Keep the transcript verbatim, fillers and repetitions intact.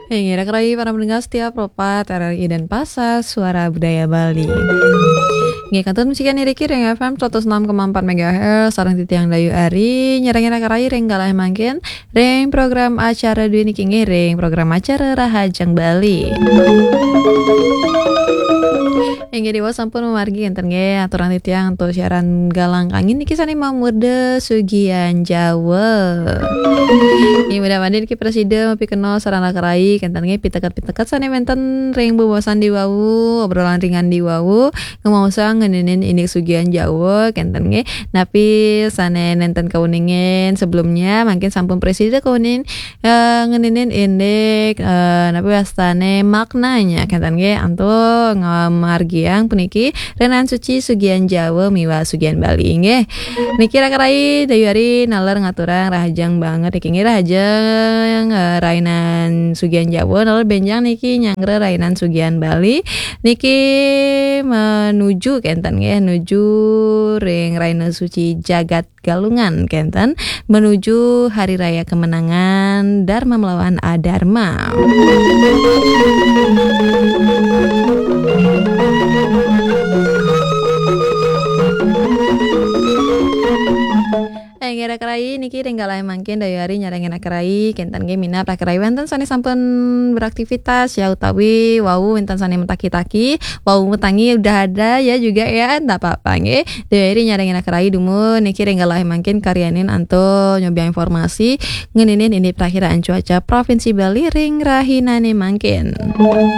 Inggih, raka rayi para pendengar setia Pro empat R R I Denpasar, Suara Budaya Bali. Inggih, kantun masikian niki ring F M seratus enam koma empat megahertz, sareng titiang Dayu Ari, nyarengin raka rayi ring galah mangkin, ring program acara dué niki inggih ring program acara Rahajeng Bali. Inggih, diwau sampun mamargi kénten nggih, aturang titiang antuk siaran galah kangin niki sané mamurda Sugian Jawa. Inggih, mudah-mudahan niki prasida mapikenoh sareng raka rayi, kénten nggih, piteket-piteket sané wénten ring bebaosan diwau, obrolan ringan diwau, ngemaosang ngeninin indik Sugian Jawa, kénten nggih. Napi sané nénten kauningin sebelumnya, mangkin sampun prasida kauning, eh, ngeninin indik, eh, napi wastané maknanya, kénten nggih, antuk ngamargiang puniki Rainan Suci Sugian Jawa miwah Sugian Bali, nggih. Niki raka rayi, Dayu Ari naler ngaturang rahajeng banget niki, nggih, rahajeng, eh, Rainan Sugian Jawa, naler bénjang niki nyanggra Rainan Sugian Bali. Niki menuju kénten nggih, nuju ring Raina Suci Jagat Galungan kénten, menuju Hari Raya Kemenangan Dharma melawan Adharma. Inggih raka rayi, niki ring galah mangkin Dayu Ari nyarengin raka rayi, kénten nggih minab raka rayi wénten sané sampun beraktivitas ya, utawi wau wénten sané mataki-taki, wau matangi udah ada ya juga ya, ndak apa-apa nggih. Dayu Ari nyarengin raka rayi dumun niki ring galah mangkin karyanin antuk nyobiahang informasi ngeninin indik prakiraan cuaca Provinsi Bali ring rahinané mangkin.